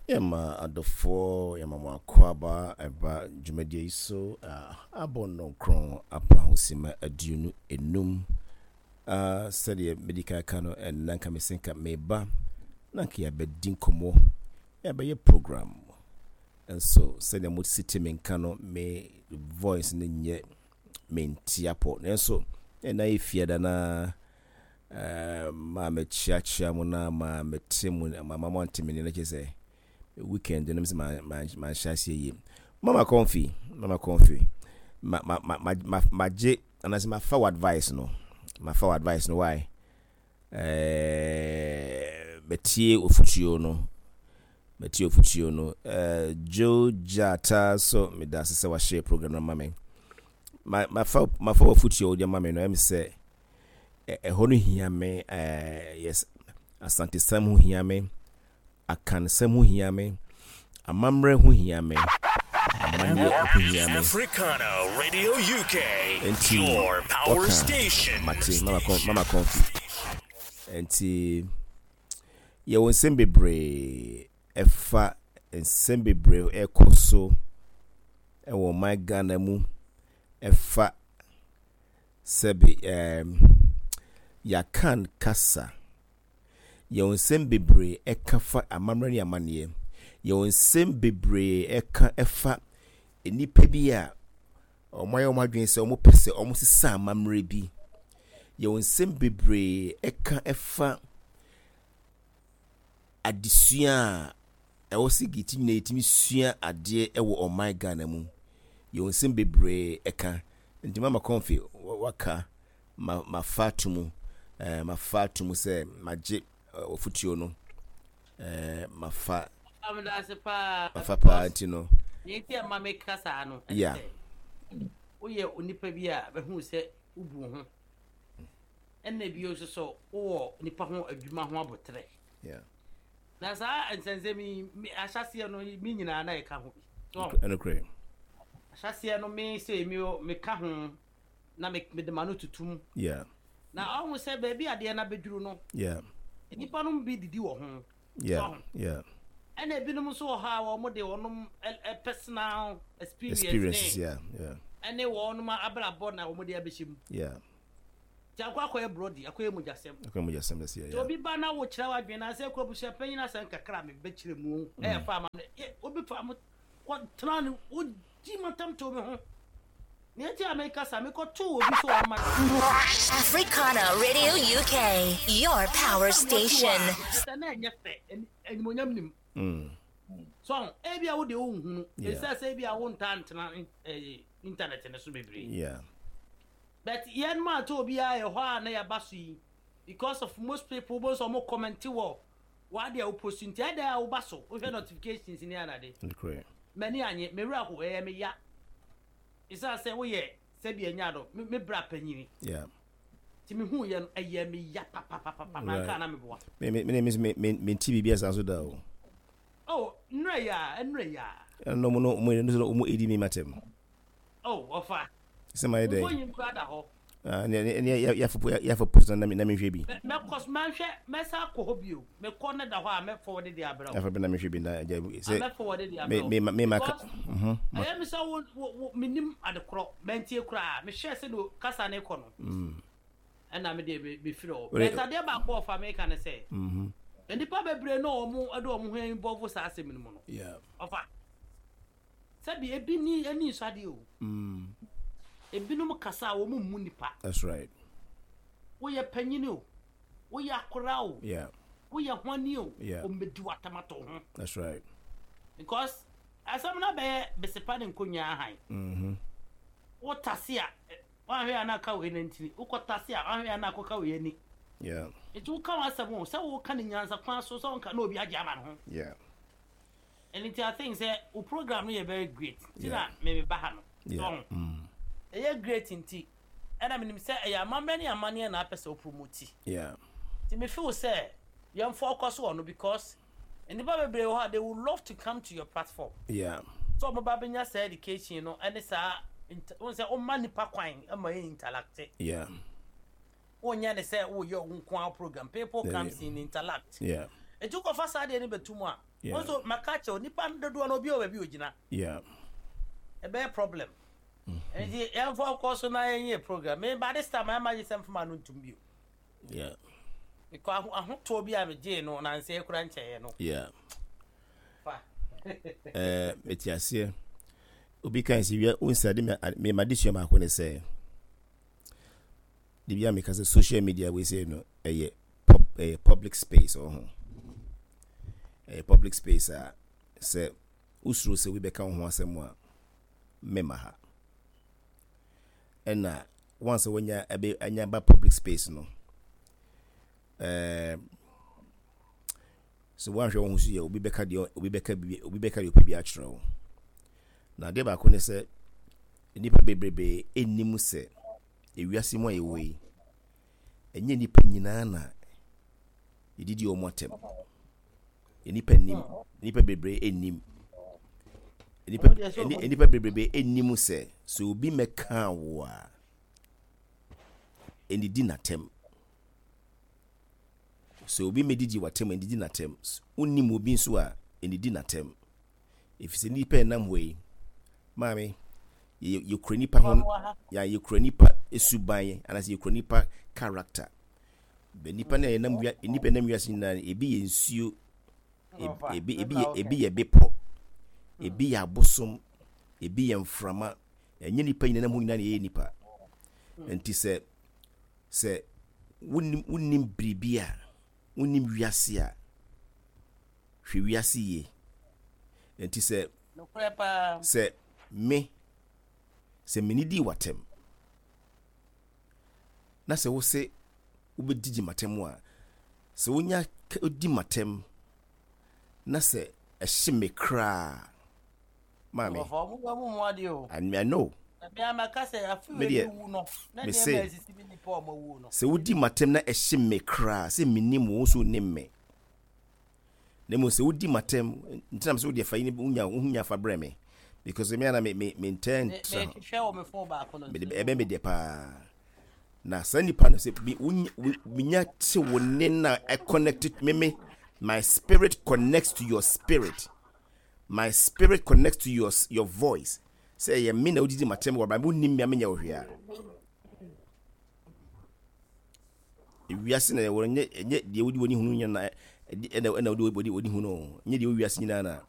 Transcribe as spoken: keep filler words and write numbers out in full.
Yɛma adɔfoɔ, yɛma mo akwaaba ɛba dwumadie yi so. Abɔ nnɔnkron apa ho sima aduonu enum. Sɛdeɛ medi kan ka no, ɛnna nka mese nka meba na nka yɛabɛdi nkɔmmɔ, yɛabɛyɛ program. Nso sɛdeɛ mo si te me nka no, me voice no nyɛ mente apɔ. Nanso ɛna yɛ fiada na maa mekyeakyea mo na maa mete mo, ma ma mo ante me ne no kyerɛ sɛ weekend no sɛ manhyɛ aseɛ yie. Mama Comfy, Mama Comfy, ma ma ma ma ma magye anaasɛ mafa wo advice no, mafa wo advice no. Why? ɛɛ metie ofutuo no, metie ofutuo no. ɛɛ Joe Jata so, meda ase sɛ wahyɛ program no ma me. Ma mafa mafa ofutuo wode ma me no, ɛm sɛ ɛhɔ no hia me. ɛɛ yes, Asantesɛm ho hia me, Akansɛm ho hia me, amammerɛ ho hia me, amanneɛ ho hia me. Africana Radio U K, Nti your power wɔka station. Mate, Mama Kɔn, Mama Comfy. Nti yɛwɔ nsɛm bebree ɛfa nsɛm bebree ɛkɔ so ɛwɔ ɔman Ghana mu, ɛfa sɛbi ɛɛm yɛakan kasa. Yɛwɔ nsɛm bebree ɛka fa amammerɛ ne amanneɛ. Yɛwɔ nsɛm bebree ɛka ɛfa nnipa bi a wɔn ayɛ wɔn adwene sɛ wɔn pɛ sɛ wɔn sesa amammerɛ bi. Yɛwɔ nsɛm bebree ɛka ɛfa adesua a ɛwɔ sɛ geti nyinaa yɛtumi sua adeɛ ɛwɔ ɔman Ghana mu. Yɛwɔ nsɛm bebree ɛka. Nti Mama Comfy, waka ma mafa ato mu, ɛɛ mafa ato mu sɛ magye ɔfutuo no, ɛɛ mafa. Amedase paa. Mafa paa, nti no. Nea nti a ma meka saa no, ɛne Yeah. sɛ woyɛ onipa bi a bɛhu sɛ wobu wo ho, ɛnna bio nso so wowɔ nipa ho adwuma ho abotrɛ. Yeah. Na saa nsɛnsɛm yi, me- ahyɛseɛ no, me nyinaa na yɛka ho bi so. Ɛnokorɛ. Ahyɛseɛ no, me sɛ me meka ho na me- mede ma no tutum yeah na ɔho sɛ baabi adeɛ no abɛduru no, yeah nnipa no bi didi wɔ ho. yeah yeah Ɛna ebinom nso wɔ hɔ a wɔn de wɔn ɛ- ɛ- personal experience experiences ne yeah yeah ɛne wɔn abrabɔ na wɔn de abɛhyɛ mu. Yeah nti akɔ akɔyɛ borɔdi, akɔyɛ mogyasɛm. Akɔ mu gyasɛm dɛ Nti yeah obi ba na wokyerɛ w'adwene na sɛ kɔ abusua panyin asɛm kakra a mebɛkyerɛ mu, ɛyɛ fa ama no. Yɛ- obi fa mo kɔtena no, wogyi matam to me ho. Nea nti a mekasa, mekɔtoo obi so ɔma Africana Radio U K, your power station. Sɛ na ɛnyɛ fɛ, ɛni- animonyam nim mm. so ebi a wode wonhunu Yeah. ɛsɛ sɛ ebi a wontaa ntena ɛɛ, internet no so bebree. Yeah but yɛn mu ato obiara yɛ hɔ a na yɛaba so yi because of most people bo nso ɔmo comment wɔ wade a wopost, nti ɛda a woba so wohwɛ notifications ne anade. Ɛnokorɛ. M'ani anye, me werɛ ho, ɛyɛ me ya ɛsiane sɛ woyɛ sɛbi anya do me me bra panyini. Yeah nti mehu yɛ no, ɛyɛ me ya papapapa na nka na meboa. me me me me me me nti biribi asa so da o. Oh, nnura yi a nnura yi a. Ɛno mo no mo no mo edi mi matem. Oh, ɔfa. Sɛ ma yɛ dɛ. Mfonyin kura da hɔ. Ah, ne ne ne yɛafo yɛafo post na na mehwɛ bi. Mɛ- mɛkɔ so mɛhwɛ, mɛsa akɔ hɔ bio. Mekɔ ne da hɔ a, mɛfɔ de de abrɛ wo. Yɛafo bi na mehwɛ bi na gya sɛ Mɛfɔ wɔde de me abrɛ wo. me me ma ka Because mhm ma ɛyɛ mi sɛ wo wo wo menim ade korɔ, mɛntie koraa, mehwɛ sɛ no kasa ne kɔ no, mm ɛna me deɛ me mefiri hɔ. Wait. But adeɛ baako a ɔfa meka ne sɛ mhm nnipa bebree na wɔn de wɔn ho involve saa asɛm no mu no, yeah ɔfa sɛbi ebi ni ani nsɔ adeɛ o. mm Ebinom kasa a wɔn mmu nipa. That's right. Woyɛ panyin o, woyɛ akora o, yeah woyɛ hwani o, Yeah. wɔn bɛdi w'atamato ho. That's right. Because asɛm no bɛyɛ besepa ne nkonnwa ahan. Mhm wotase a ɛ, woahwɛ a na aka wei nantini, wokɔtase a, woahwɛ a na akɔka wei ani. Yeah nti woka w'asɛm o, sɛ woka ne nyansa kwan so sɛ wonka na obi agye ama ne ho. Yeah ɛno nti I think sɛ wo program no yɛ very great, nti na Yeah. memeba ha no. Yeah so mm ɛyɛ great, nti ɛna menim sɛ ɛyɛ amammerɛ ne amanneɛ na apɛ sɛ wo promote. Yeah nti me feel sɛ yɛmfa ɔkɔ so wɔ no because nnipa bebree wɔ hɔ a they would love to come to your platform yeah sɛ ɔmo ba bɛnya saa education no ɛne saa int- wohu sɛ woma nipa kwan ma yɛ interact. Yeah wonyɛ ne sɛ woyɛ wo nko ara program, people Yeah, comes yeah. in, interact. Yeah Eti wokɔfa saa deɛ no bɛtu mu a, Yeah. wo nso maka kyerɛ wo, nipa dodoɔ no obi wɔ baabi a ogyina. Yeah. Ɛbɛyɛ problem. Nti yɛmfa kɔ so na yɛnyɛ program. Me by this time ayɛ magye sɛ mfoma no ntum bio. Yeah. Because aho- ahotoɔ bi a megyee no nansɛ kura nkyɛeɛ no. Yeah. Fa. Eh, mete aseɛ. Obi kan sɛ wia wonsa de me me ma de sua baako ne sɛ de bia meka sɛ social media wei sɛ no ɛyɛ pub, ɛyɛ public space wɔ ho. Ɛyɛ public space a sɛ wosuro sɛ obi bɛka wo ho asɛm a, mema ha. Ɛna once wanya ɛbɛ anya ba public space no, ɛɛ sɛ woanhwɛ wo ho so yɛ, obi bɛka deɛ obi bɛka bi obi bɛka deɛ ɔpɛ bi akyerɛ wo. Na adeɛ baako ne sɛ nnipa bebrebe ɛnnim sɛ ewiase mu a yɛwɔ yi, ɛnyɛ nnipa nyinaa na yɛdidi wɔn atɛm. Nnipa nim, nnipa bebree ɛnnim. Nnipa ɛni- nnipa bebrebe ɛnnim sɛ sɛ obi mɛka wo a, ɛnidi n'atɛm. Sɛ obi mɛdidi w'atɛm a, ɛnidi n'atɛm. Wonnim obi nso a, ɛnidi n'atɛm. Ɛfiri sɛ nnipa a ɛnam hɔ yi, maame, yɛ- yɛkura nipa ho ya yɛkura nipa suban anaasɛ yɛkura nipa character. Bɛ nipa no a yɛnam wia nipa a ɛnam wiase nyinaa no, ebi yɛ nsuo, ebi ebi ebi yɛ ebi yɛ bepɔ, ebi yɛ abosom, ebi yɛ mframa. Ɛnyɛ nipa nyinaa nam hɔ nyinaa na yɛyɛ nipa. Nti sɛ sɛ wonim wonim biribi a, wonim wiase a, hwɛ wiase yie. Nti sɛ Nokorɛ paa. sɛ me sɛ mene dii w'atɛm na sɛ wo se wobɛdidi m'atɛm a, sɛ wonya ka- di m'atɛm na sɛ ɛhye me koraa, maame. Wɔfa ɔmo bɛ mu mu adeɛ o. I, I know. Na bia maka sɛ afi Me wei deɛ, wu no na me nneɛma se a esisi bi nipa a ɔmo awu no. Sɛ wodi m'atɛm na ɛhye me koraa sɛ menim wo, wo nso wonim me, na mmom sɛ wodi m'atɛm ntina sɛ wode fa yi wonya wonya fa brɛ me, because me ana me me mentɛ Me ntra me hwehwɛ wɔ me phone baako no. Mede ɛbɛn me deɛ paa na saa nipa no sɛ me wonya wo- menya te wo ne na I connect me me my spirit connects to your spirit, my spirit connects to your your voice sɛ ɛyɛ me na wodidi m'atɛm wɔ ba wonim me a, menyɛ wo hwee a, ewiase na ɛwɔ. Nyɛ ɛnyɛ deɛ wodi w'ani hunu nyɛ na ɛdi ɛna ɛna wodi wodi wodi hunu o. Nyɛ deɛ wɔ wiase nyinaa na